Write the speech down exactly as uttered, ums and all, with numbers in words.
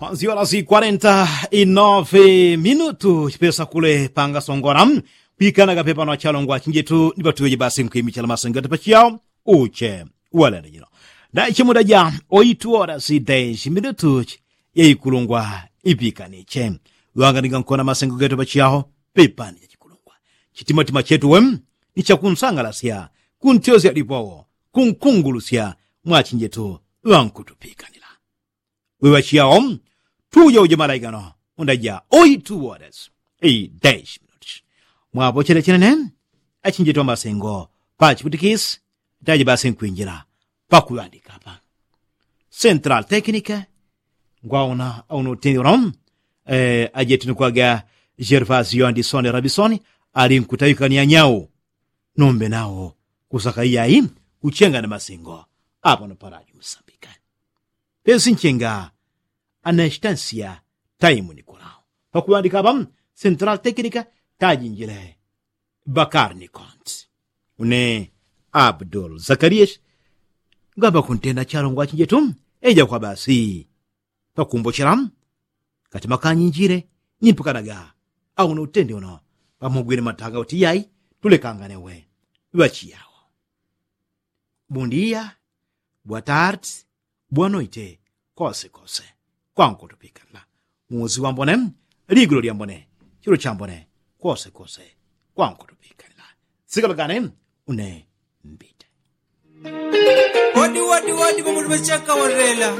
Panziola si kwarenta i nove minutu chipesa kule pangasongora. Pikanaga pepano achalongwa chinjetu ni patuweje basi nkwimichala masengetu pachiyao. Uche walenda jino ndaichimuda ja oitu ora si deshi minutu. Yaikulungwa ipikaniche. Wanganiga nkona masengo getu pachiyao pepani chachikulungwa. Chitimatima chetu we ni chakunsangalasya kuntyosya lipowo kunkungulusya mwachinjetu wankutupikanila. Wewa chiyao tuja uja malaigano undaja oitu wodes. Ideshi minutu mwapo chenechenene achinjetu amasengo pachiputikisi taji basi nkwinjila pakuŵandikapa. Central tekinike ngwauna auna utindilo. Ajetinikwaga jervasio andisoni rabisoni ali nkutawikania nyau. Nombe nao kusaka iyai kuchenga na masingo apano paraji musambika. Pesi nchenga anesitansia taimu nikolao pakuŵandikapa. Central tekinike tajinjile bakari ni konti. Une abdul zakariyeshi ngamba kuntenda chalongwa chinjetu eja kwa basi pakumbochela kati makanyinjile nimpakanaga aune utende uno pamugwile matanga uti yai tulekangane we ŵachiyawo. Bundiya bwatarti bwanoite kosekose kwankotopikanila. Muzi wambone ligulo lyambone chilo chambone kosekose kwankotopikanila. Sikalagane une mbite. Wadi wadi wadi pamutu pachaka warela.